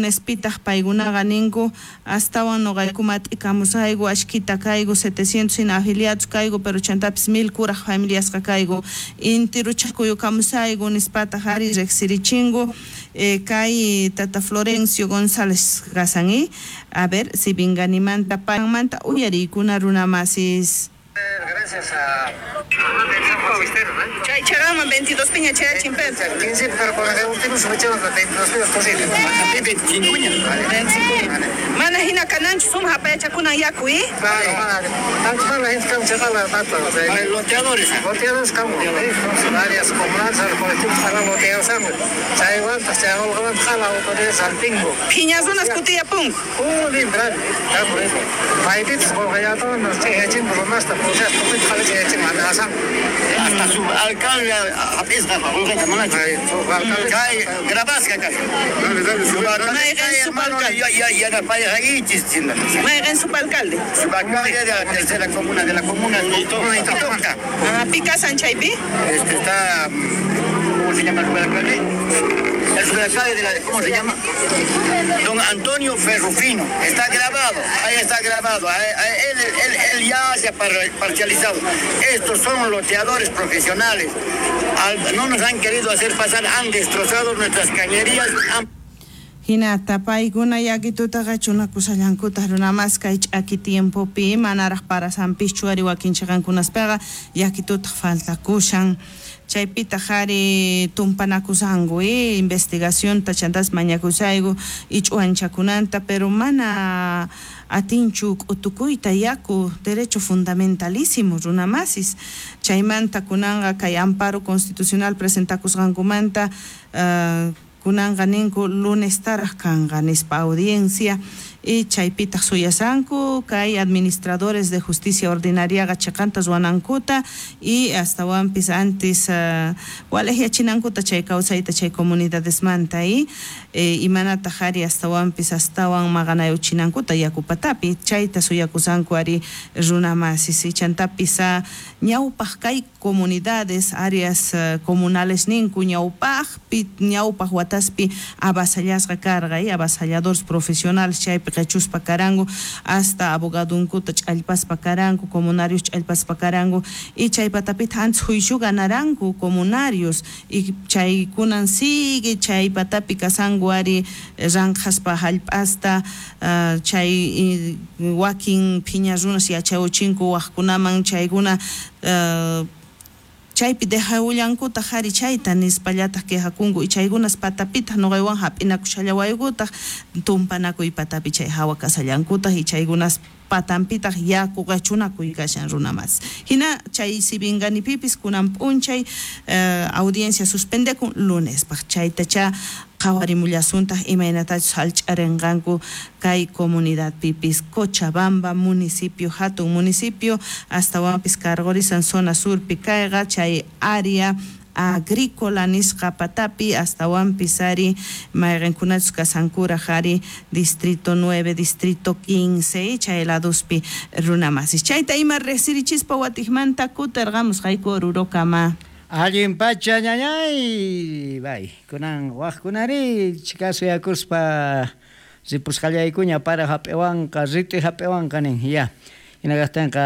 Lunespitaj paykunaqa ninku astawan noqayku mat'ikamusayku ashkita kayku 700 hina afiliados kayku pero chantapis 1000 kuraj familiasqa kayku intiruchakuyukamusayku nispataq ari riqsirichinku kay tata Florencio González kasan a ver Sibinganimanta paymanta uyariykuna runamasis. Gracias a Chay chaqanman 22 piña chayachin Pedro. 15, pero con el último se 22 piñas posible. 25. Mana hina kananchu suma hapayachakunan yaku, ¿eh? Claro, tanto para la gente que han Loteadores. Loteadores, como, varias comunidades, colectivos para loteados, chay guantas, chay jala, autoridades al pingo. Piñas unas kutilla pum. Limbra, Paipitos, porque nos Hasta su alcalde grabasqa Subalcalde. Subalcalde de la tercera comuna, de la comuna de. ¿Picasan chaypi? Este está, ¿cómo se llama el subalcalde? El subalcalde de la, ¿cómo se llama? Don Antonio Ferrufino. Está grabado, ahí está grabado. Él ya se ha parcializado. Estos son loteadores profesionales. No nos han querido hacer pasar, han destrozado nuestras cañerías. Hinata paykuna yakitutaqa chunakusallankutaj runamas kay ch'aki tiempopi manaraj parasanpischu ari wakin chiqankunaspaqa yakitutaq faltakushan chaypitaq ari tumpanakusanku investigacionta chantas mañakusayku ich'uanchakunanta pero mana atinchu k'utukuyta yaku derecho fundamentalísimo runamasis chaymanta kunanqa kay amparo constitucional presentakusqankumanta kunanqa ninku lunes taraj kanqa nispa audiencia y chaypitaq suyasanku kay administradores de justicia ordinariaqa chiqanta ruwanankuta y astawanpis antes walejyachinankuta chay kawsayta chay comunidadesmanta y imanataq ari astawanpis astawan maqanayuchinankuta yakupatapi chayta suyakusanku ari runamasis y chantapis ñawpaq kay comunidades áreas comunales ninku ñawpaqpi ñawpaq wataspi avasallasqa karqa y avasalladores profesionales chaypi qechuspa karanku hasta abogadunkuta ch'allpaspa karanku comunarios ch'allpaspa karanku y chay patapita antes juicio ganaranku comunarios y chaykunan sigue chay patapi kasanku ari ranqhaspa hallp'asta chay wakin phiña runas yachawchinku waqkunaman chaykuna chaypi dejawullankutaq ari chayta nispallataq quejakunku y chaykunas patapitaq nuqaywan hap'inakushallawaykutaj tumpanakuy patapi chay hawa kasallankutaq y chaykunas patanpitaq yaku qachunakuy kashan runamas hina chay Sibinganipipis kunan p'unchay audiencia suspendekun lunespaq chaytacha qhawarimullasuntaq imaynatachus hallch'arinqanku kay comunidadpipis Cochabamba municipio hatun municipio astawanpis cargorisan zona surpi kayqa chay área agrícola nisqa patapi astawanpis ari mayqinkunachus kasankuraj ari distrito 9, distrito 15 chay laduspi runamasis chayta ima riqsirichispa watiqmanta kutirqamusqayku Orurokama. Allin pacha ñañay bay kunan waqkunari chikasuyakuspa ripusqallaykuña para hap'iwanqa rit'i hap'iwanqa nin ya hinaqtinqa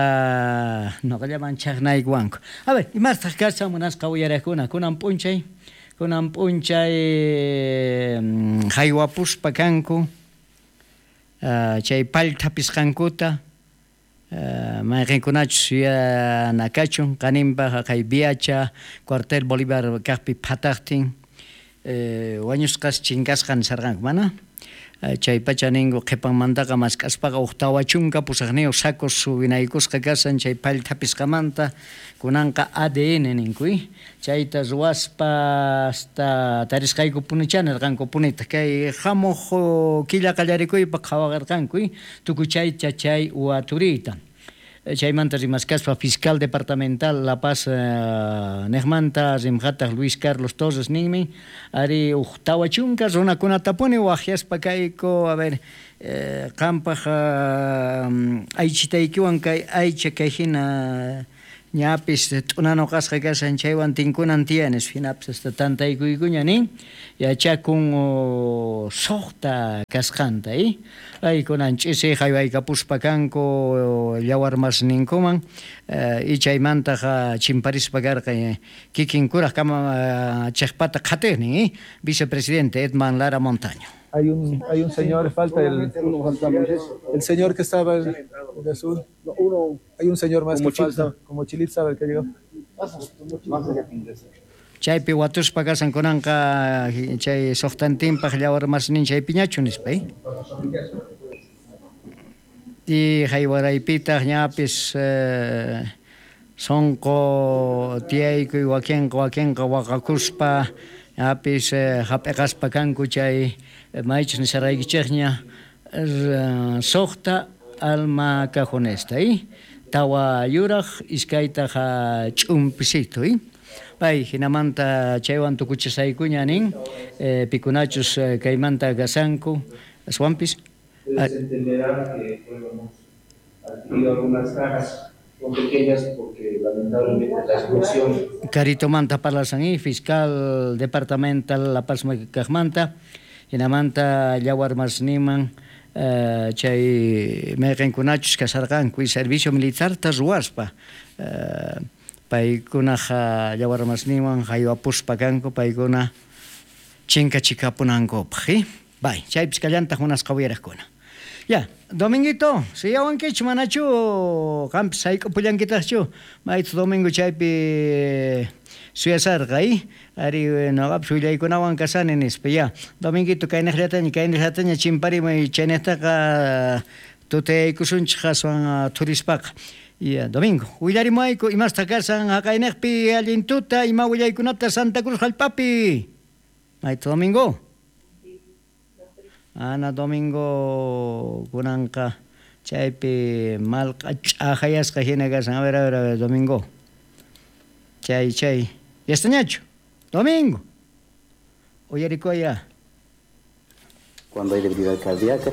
noqallaman chaqnaykuwanku. A ver, imartaq kashan munasqa uyariqkuna kunan p'unchay haywapuspa kanku chay pallthapisqankuta mayqinkunachus yuyanakachun qaninpaq kay Viacha cuartel Bolívar kaqpi phataqtin wañusqas chinkasqa nisarqanku mana chay pacha ninku qhipanmantaqa mask'aspaqa huk 48 sacos subinaykusqa kasan chay pallthapisqamanta kunanqa ADN ninku chayta ruwaspa hasta tarisqayku punicha nirqanku punita kay hamuq killa qallarikuypaq qhawaqarqanku tukuy chaycha chay waturiyta chaymanta rimaskaspa fiscal departamental La Paz niqmanta rimqataq Luis Carlos Torres ninmi ari huk 40 runakunatapuni waqyaspa kayku a ver qampaq aychitaykiwan kay aycha kay hina Ñapis t'unanuqasqa kashan chaywan tinkunan tiyan nispa hinapis hasta tantaykuykuña nin yachakun suqta kasqanta ay kunan ch'isi haywaykapuspa kanku llawarmasninkuman y chaymantaq chimparispa karqa kikin kuraq kamachiqpata qhatiqnin vicepresidente Edman Lara Montaño. Hay un señor, falta el señor que estaba de azul. Hay un señor más que falta, como Chilit sabe el que llegó. Chaypi watuspa kasan kunanqa chay suqtantinpaq llawarmasnin chaypiñachu nispa. Y haywaraypitaq ñapis sonqo tiyaykuy wakinqa waqakuspa ñapis hap'iqaspa kanku chay maychus nisaraykichikña suqta alma cajonesta tawa yuraq iskaytaq ch'umpisito pay hinamanta chaywan tukuchisaykuña nin pikunachus kaymanta kasanku aswanpis. Ustedes entenderán que hemos adquirido algunas cajas son pequeñas porque lamentablemente la explosión. Caritomanta parlasan fiscal departamental La Paz kaqmanta hinamanta llawarmasniman chay mayqinkunachus kasarqanku y servicio militarta ruwaspa paykunaq llawarmasninwan haywapuspa kanku paykuna chinkachikapunankupaq. Bay, chaypis kallantaq munasqa uyaraqkuna. Ya, Dominguito, suyawankichu manachu qampis hayk'upullankitaqchu maytu domingo chaypi suyasarqa ari noqapis willaykunawan kasani nispa. Ya, Dominguito kaynaqllataña chimparimuy chaynaqtaqa tutayaykusunchik aswan thurispaqa. Ya, Domingo, willarimuayku imasta kasan haqaynaqpi allin tuta ima willaykunata Santa Cruz hallp'api. Maytu Domingo. Ana Domingo kunanqa chaypi malqa ch'aqayasqa hina kasan. A ver, Domingo. Chay. ¿Yastañachu? Domingo. Uyarikuya. Cuando hay debilidad cardíaca.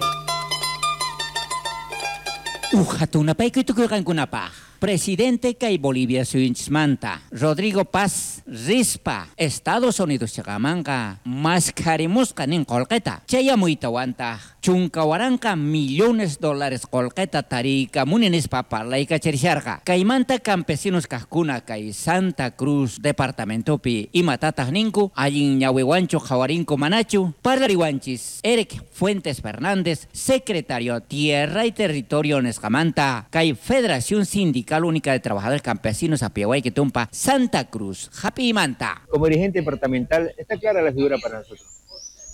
Ujatunapaykuy tukuyqankunapaq. Presidente kay Bolivia suyunchismanta Rodrigo Paz rispa Estados Unidos chaqamanqa maskharimusqa nin qolqeta chayamuytawantaq 14 millones dólares qolqeta tariykamuni nispa parlaykachisharqa kaymanta campesinos kaqkuna kay Santa Cruz departamentopi imatataq ninku allin ñawiwanchu qhawarinku manachu parlariwanchis Eric Fuentes Fernández secretario Tierra y Territorio nisqamanta kay Federación Sindical Única de Trabajadores Campesinos Apiahuay Tumpa, Santa Cruz, Japimanta. Como dirigente departamental, está clara la figura para nosotros.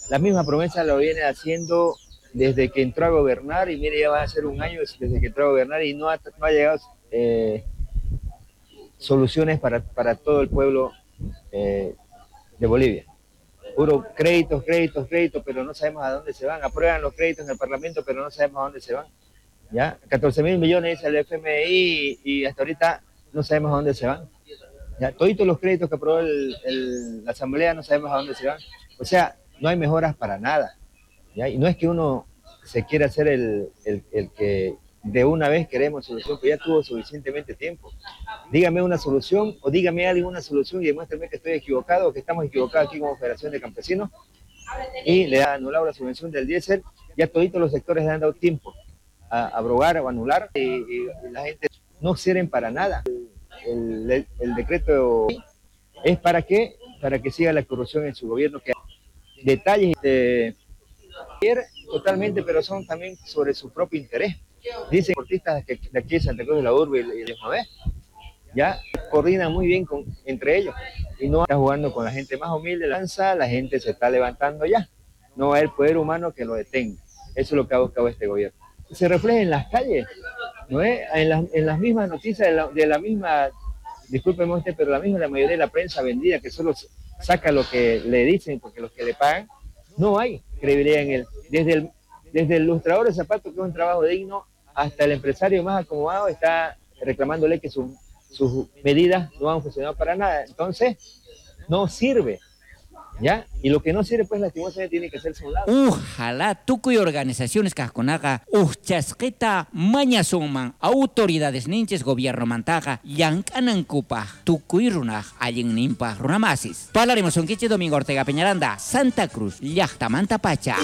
La misma promesa lo viene haciendo desde que entró a gobernar, y mire, ya va a ser un año desde que entró a gobernar y no ha llegado soluciones para todo el pueblo de Bolivia. Puro créditos, créditos, créditos, pero no sabemos a dónde se van. Aprueban los créditos en el Parlamento, pero no sabemos a dónde se van. ¿Ya? 14 mil millones al FMI y hasta ahorita no sabemos a dónde se van. ¿Ya? Toditos los créditos que aprobó la Asamblea no sabemos a dónde se van. O sea, no hay mejoras para nada. ¿Ya? Y no es que uno se quiera hacer el que de una vez queremos solución, pero ya tuvo suficientemente tiempo. Dígame una solución o dígame alguna solución y demuéstrame que estoy equivocado o que estamos equivocados aquí como Federación de Campesinos. Y le ha anulado la subvención del diésel. Ya toditos los sectores le han dado tiempo a abrogar o anular y la gente no sirven para nada. El decreto es para qué, para que siga la corrupción en su gobierno, que detalles totalmente, pero son también sobre su propio interés. Dicen deportistas que de aquí de Santa Cruz de la Urbe y de Mabé, ya coordinan muy bien entre ellos y no está jugando con la gente más humilde, lanza, la gente se está levantando ya. No va a haber poder humano que lo detenga. Eso es lo que ha buscado este gobierno. Se refleja en las calles, ¿no es? En las mismas noticias de la misma, discúlpeme usted, pero la mayoría de la prensa vendida que solo saca lo que le dicen porque los que le pagan, no hay credibilidad en él. Desde el lustrador de zapatos, que es un trabajo digno, hasta el empresario más acomodado está reclamándole que sus medidas no han funcionado para nada. Entonces, no sirve. ¿Ya? Y lo que no sirve, pues lastimosamente tiene que hacerse a un lado. Ojalá tukuy organizaciones kajkunaqa ujchasqita mañasunman autoridades ninchis gobiernomantaqa llank'anankupaj tukuy runaj allinninpaj runamasis. Parlarimusunkichis Domingo Ortega Peñaranda, Santa Cruz, llaqtamanta pacha.